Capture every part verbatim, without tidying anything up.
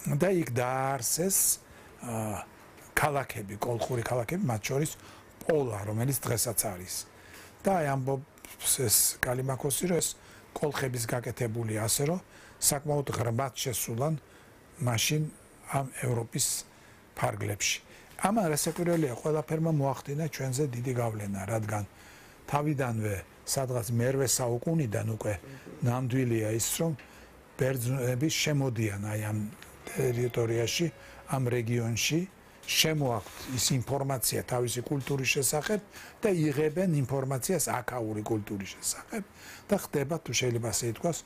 და იქ დაარსეს ქალაქები, კოლხური ქალაქები, მათ შორის პოლა, რომელიც დღესაც არის. და აი ამბობს ეს კალიმაქოსი, რომ ეს კოლხების გაკეთებული ასე, რომ საკმაოდ ღრმად შესულან მაშინ ამ ევროპის ფარგლებში. ამან რასაკვირველია, ყველაფერმა მოახდინა ჩვენზე დიდი გავლენა, რადგან თავიდანვე სადღაც მერვე საუკუნიდან უკვე ნამდვილია ის, რომ ბერძნები შემოდიან აი ამ ტერიტორიაში, ამ რეგიონში, შემოაქვთ ის ინფორმაცია თავისი კულტურის შესახებ და იღებენ ინფორმაციას აქაური კულტურის შესახებ და ხდება, თუ შეიძლება ასე ითქვას,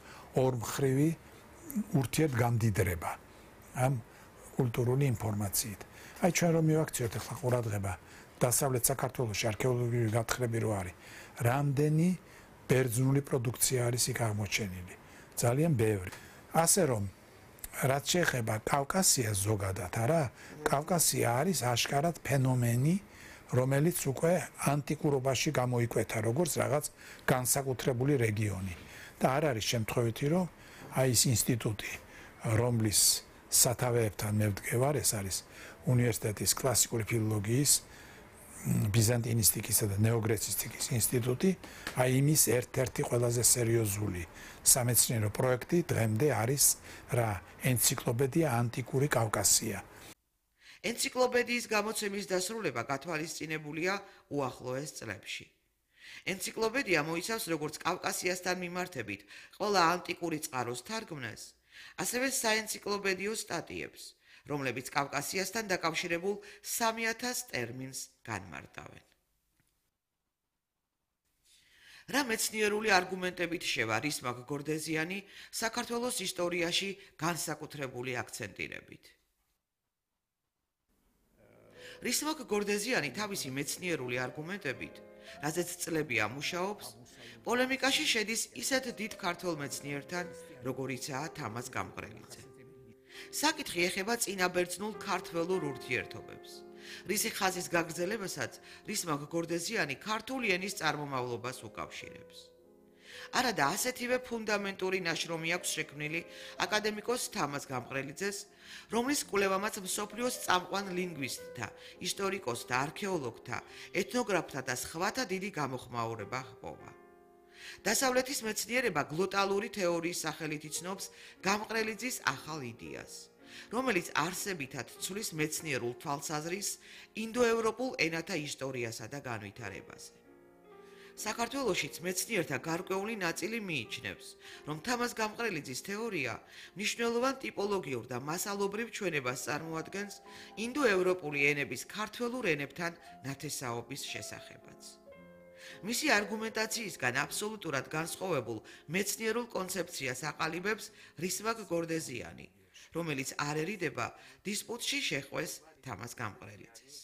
ორმხრივი ურთიერთგამდიდრება ამ კულტურული ინფორმაციით. აი ჩვენ რომ მივაქციოთ ახლა ყურადღება დასავლეთ საქართველოში არქეოლოგიური გათხრები რო არის, რამდენი ბერძნული პროდუქცია არის იქ აღმოჩენილი. ძალიან ბევრი. ასე რომ რაც შეეხება კავკასიას ზოგადად, არა, კავკასია არის აშკარად ფენომენი, რომელიც უკვე ანტიკურობაში გამოიკვეთა როგორც რაღაც განსაკუთრებული რეგიონი. და არ არის შემთხვევითი, რომ აი ეს ინსტიტუტი, რომლის სათავეებთან მე ვდგევარ, ეს არის უნივერსიტეტის კლასიკური ფილოლოგიის, ბიზანტინისტიკისა და ნეოგრეცისტიკის ინსტიტუტი, აი იმის ერთ-ერთი ყველაზე სერიოზული სამეცნიერო პროექტი დღემდე არის რა ენციკლოპედია ანტიკური კავკასია. ენციკლოპედიის გამოცემის დასრულება გათვალისწინებულია უახლოეს წლებში. ენციკლოპედია მოიცავს როგორც კავკასიასთან მიმართებით ყველა ანტიკური წყაროს თარგმნას, ასევე საენციკლოპედიო სტატიებს, რომლებიც კავკასიასთან დაკავშირებულ სამი ათას ტერმინს განმარტავენ. რა მეცნიერული არგუმენტებით შევა რისმაკ გორდეზიანი საქართველოს ისტორიაში განსაკუთრებული აქცენტირებით. რისმაკ გორდეზიანი თავისი მეცნიერული არგუმენტებით, რაზეც წლებია მუშაობს, პოლემიკაში შედის ისეთ დიდ ქართველ მეცნიერთან, როგორიცაა თამაზ გამყრელიძე. საკითხი ეხება წინაბერძნულ ქართველურ ურთიერთობებს. რისი ხაზის გაგრძელებასაც რისმაკ გორდეზიანი ქართული ენის წარმომავლობას უკავშირებს. არადა ასეთივე ფუნდამენტური ნაშრომი აქვს შექმნილი აკადემიკოს თამაზ გამყრელიძეს, რომლის კვლევამაც მსოფლიოს წამყვან ლინგვისტთა, ისტორიკოსთა, არქეოლოგთა, ეთნოგრაფთა და სხვათა დიდი გამოხმაურება ჰპოვა. დასავლეთის მეცნიერება გლოტალური თეორიის სახელით იცნობს გამყრელიძის ახალ იდეას, რომელიც არსებითად ცვლის მეცნიერულ თვალსაზრისს ინდოევროპულ ენათა ისტორიასა და განვითარებაზე. საქართველოშიც მეცნიერთა გარკვეული ნაწილი მიიჩნევს, რომ თამაზ გამყრელიძის თეორია მნიშვნელოვან ტიპოლოგიურ და მასალობრივ ჩვენებას წარმოადგენს ინდოევროპული ენების ქართველურ ენებთან ნათესაობის შესახებაც. მისი არგუმენტაციისგან აბსოლუტურად განსხვავებულ მეცნიერულ კონცეფციას აყალიბებს რისმაკ გორდეზიანი, რომელიც არ ერიდება დისპუტში შეხვეს თამაზ გამყრელიძეს.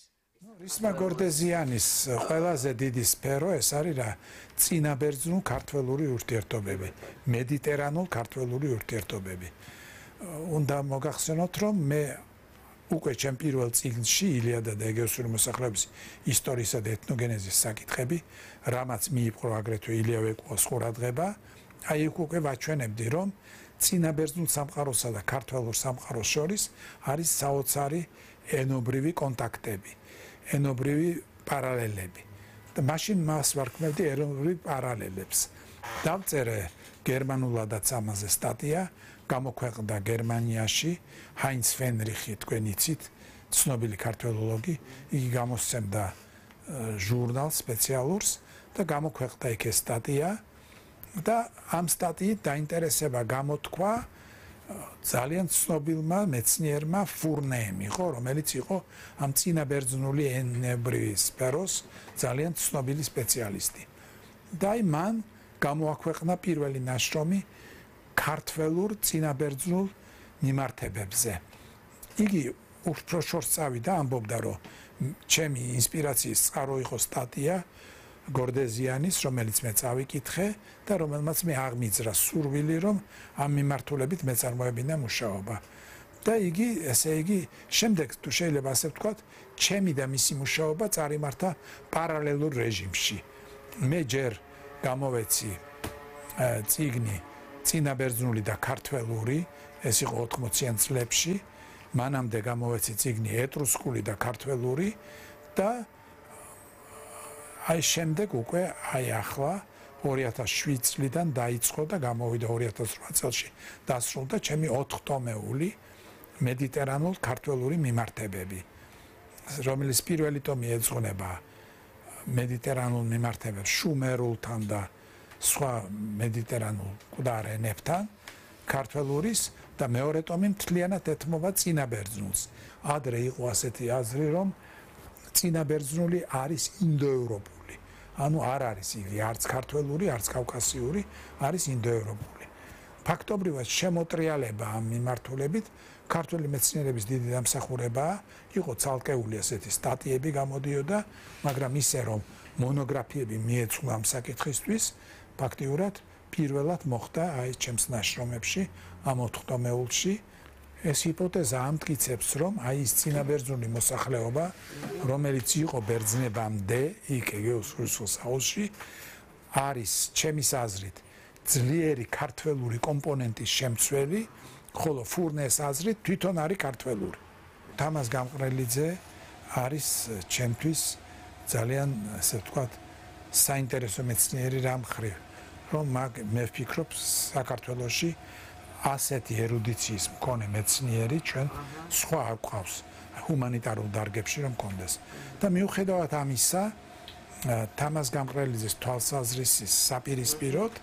რისმაკ გორდეზიანის ყველაზე დიდი სფერო ეს არის რა წინაბერძნულ ქართველური ურთიერთობები, მედიტერანულ ქართველური ურთიერთობები. უნდა მოგახსენოთ, რომ მე უკვე ჩემ პირველ წიგნში ილიადა და ეგეოსური მოსახლეობის ისტორიისა და ეთნოგენეზის საკითხები, რამაც მიიპყრო აგრეთვე ილია ვეკუას ყურადღება, აი იქ უკვე ვაჩვენებდი, რომ წინაბერძნულ სამყაროსა და ქართველურ სამყაროს შორის არის საოცარი ენობრივი კონტაქტები, ენობრივი პარალელები. და მაშინ მას ვარქმევდი ენობრივ პარალელებს. დავწერე გერმანულადაც ამაზე სტატია, გამოქვეყნდა გერმანიაში, ჰაინც ფენრიხი, თქვენ იცით, ცნობილი ქართველოლოგი, იგი გამოსცემდა ჟურნალს სპეციალურს და გამოქვეყნდა იქ ეს სტატია და ამ სტატიით დაინტერესება გამოთქვა ძალიან ცნობილმა მეცნიერმა ფურნემ იყო, რომელიც იყო ამ წინაბერძნული ენებრივი სფეროს ძალიან ცნობილი სპეციალისტი. და აი მან გამოაქვეყნა პირველი ნაშრომი ქართველურ წინაბერძნულ მიმართებებზე. იგი უფრო შორს წავიდა, ამბობდა, რომ ჩემი ინსპირაციის წყარო იყო სტატია გორდეზიანის, რომელიც მე წავიკითხე და რომელმაც მე აღმიძრა სურვილი, რომ ამ მიმართულებით მეწარმოებინა მუშაობა. და იგი, ესე იგი, შემდეგ თუ შეიძლება ასე ვთქვათ, ჩემი და მისი მუშაობა წარიმართა პარალელურ რეჟიმში. მე ჯერ გამოვეცი წიგნი წინაბერძნული და ქართველური, ეს იყო ოთხმოციან წლებში მანამდე გამოვეცი წიგნი ეტრუსკული და ქართველური და აი შემდეგ უკვე აი ახლა ორი ათას შვიდ წლიდან დაიწყო და გამოვიდა ორი ათას რვა წელში დასრულდა ჩემი ოთხტომეული მედიტერანულ ქართველური მიმართებები, რომელიც პირველი ტომი ეძღვნება მედიტერანულ მიმართებებს შუმერულთან და სხვა მედიტერანულ მკვდარ ენებთან ქართველურის და მეორე ტომი მთლიანად ეთმობა წინაბერძნულს. ადრე იყო ასეთი აზრი, რომ წინაბერძნული არის ინდოევროპული. ანუ არ არის იგი არც ქართველური, არც კავკასიური, არის ინდოევროპული. ფაქტობრივად შემოტრიალება ამ მიმართულებით ქართული მეცნიერების დიდი დამსახურებაა, იყო ცალკეული ასეთი სტატიები გამოდიოდა, მაგრამ ისე რომ მონოგრაფიები მიეწვლა ამ საკითხისთვის, ფაქტიურად პირველად მოხდა აი ჩემს ნაშრომებში ამ ოთხტომეულში. ეს ჰიპოთეზა ამტკიცებს, რომ აი ის წინაბერძნული მოსახლეობა, რომელიც იყო ბერძნებამდე, იქ ეგეოს რუსულს აუზში, არის ჩემის აზრით ძლიერი ქართველური კომპონენტის შემცველი, ხოლო ფურნეს აზრით თვითონ არის ქართველური. თამაზ გამყრელიძე არის ჩემთვის ძალიან, ასე ვთქვათ, საინტერესო მეცნიერი რამ ხრივ, რომ მე ვფიქრობ საქართველოში ასეთი ერუდიციის მქონე მეცნიერი ჩვენ სხვა არ გვყავს ჰუმანიტარულ დარგებში რომ კონდეს. და მიუხედავად ამისა, თამაზ გამყრელიძის თვალსაზრისის საპირისპიროდ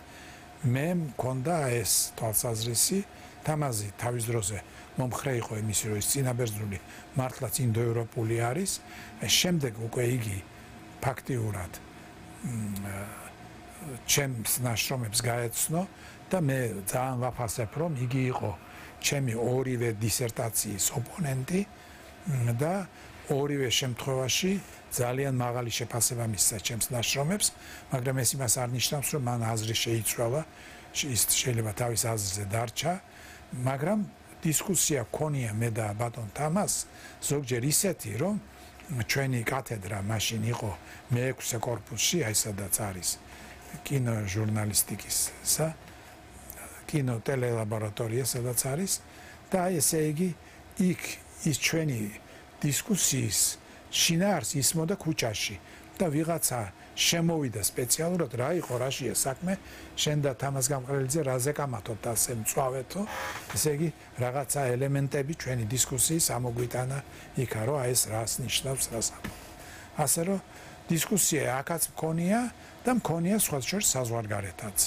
მე მქონდა ეს თვალსაზრისი. თამაზი თავის დროზე მომხრე იყო იმის, რომ ის წინაბერძნული მართლაც ინდოევროპული არის. შემდეგ უკვე იგი ფაქტიურად ჩემს ნაშრომებს გაეცნო და მე ძალიან ვაფასებ, რომ იგი იყო ჩემი ორივე დისერტაციის ოპონენტი და ორივე შემთხვევაში ძალიან მაღალი შეფასება მისცა ჩემს ნაშრომებს, მაგრამ ეს იმას არ ნიშნავს, რომ მან აზრი შეიცვალა, ის შეიძლება თავის აზრზე დარჩა, მაგრამ დისკუსია ქონია მე და ბატონ თამაზს ზოგჯერ ისეთი, რომ ჩვენი კათედრა მაშინ იყო მეექვსე კორპუსში, აი სადაც არის კინო ჟურნალისტიკისა კინო ტელელაბორატორია სადაც არის და აი ესე იგი იქ ის ჩვენი დისკუსიის შინაარსი ისმოდა ქუჩაში და ვიღაცა შემოვიდა სპეციალურად რა იყო რაშია საქმე შენ და თამაზ გამყრელიძე რაზე კამათობთ ასე მწვავეთო ესე იგი რაღაცა ელემენტები ჩვენი დისკუსიის ამოგვიტანა იქა რომ აი ეს რას ნიშნავს რას ასე რომ დისკუსია აქაც მქონია და მქონია სხვა შორის საზღვარგარეთაც.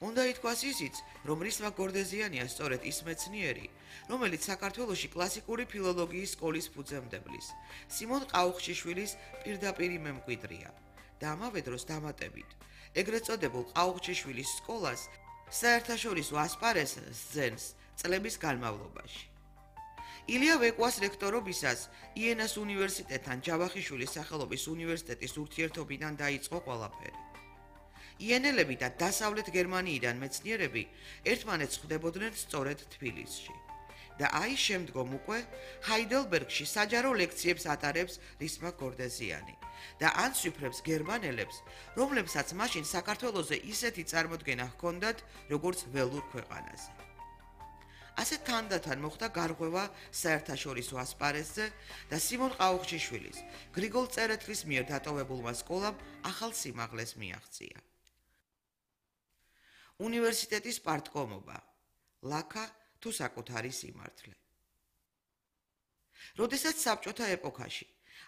უნდა ითქვას ისიც, რომ რისმა გორდეზიანია სწორედ ის მეცნიერი, რომელიც საქართველოში კლასიკური ფილოლოგიის სკოლის ფუძემდებლის, სიმონ ყაუხჩიშვილის პირდაპირი მემკვიდრია და ამავე დროს დამატებით, ეგრეთ წოდებულ ყაუხჩიშვილის სკოლას საერთაშორისო ასპარეზს ძენს წლების განმავლობაში. ილია ვეკვას რექტორობისას იენას უნივერსიტეტთან ჯავახიშვილის სახელობის უნივერსიტეტის ურთიერთობიდან დაიწყო ყველაფერი. იენელები და დასავლეთ გერმანიიდან მეცნიერები ერთმანეთს ხვდებოდნენ სწორედ თბილისში. და აი შემდგომ უკვე ჰაიდელბერგში საჯარო ლექციებს ატარებს რისმა გორდეზიანი და ანციფრებს გერმანელებს, რომლებსაც მაშინ საქართველოზე ისეთი წარმოდგენა ჰქონდათ, როგორც ველურ ქვეყანაზე. ასე თანდათან მოხდა გარღვევა საერთაშორისო ასპარეზზე და სიმონ ყაუხჩიშვილის, გრიგოლ წერეთლის მიერ დატოვებულმა სკოლამ ახალ სიმაღლეს მიაღწია. უნივერსიტეტის პარტკომობა, ლაქა თუ საკუთარი სიმართლე. როდესაც საბჭოთა ეპოქაში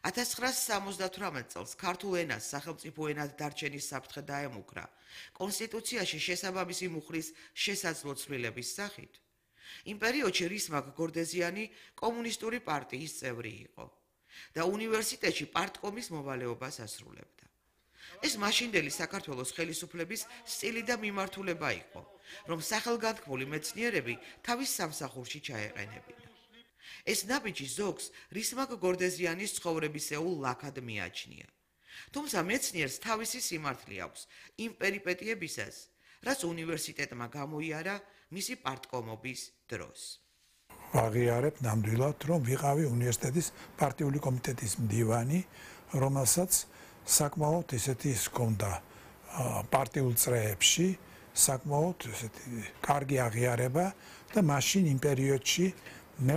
ათას ცხრაასი სამოცდათვრამეტ წელს ქართულ ენას სახელმწიფო ენად დარჩენის საფრთხე დაემუქრა კონსტიტუციაში შესაბამისი მუხლის შესაძლო ცვლილების სახით, იმ პერიოდში რისმა გორდეზიანი კომუნისტური პარტიის წევრი იყო და უნივერსიტეტში პარტკომის მოვალეობას ასრულებდა. ეს მაშინდელი საქართველოს ხელისუფლების სტილი და მიმართულება იყო, რომ სახელგანთქმული მეცნიერები თავის სამსახურში ჩაეყენებინა. ეს ნაბიჯი ზოგს რისმა გორდეზიანის ცხოვრებისეულ ლაქად მიაჩნია. თუმცა მეცნიერს თავისი სიმართლე აქვს იმ პერიპეტიებისას, რაც უნივერსიტეტმა გამოიარა მისი პარტკომობის დროს. ვაღიარებ ნამდვილად, რომ ვიყავი უნივერსიტეტის პარტიული კომიტეტის მდივანი, რომელსაც საკმაოდ ესეთი ჰქონდა პარტიულ წრეებში, საკმაოდ ესეთი კარგი აღიარება და მაშინ იმ პერიოდში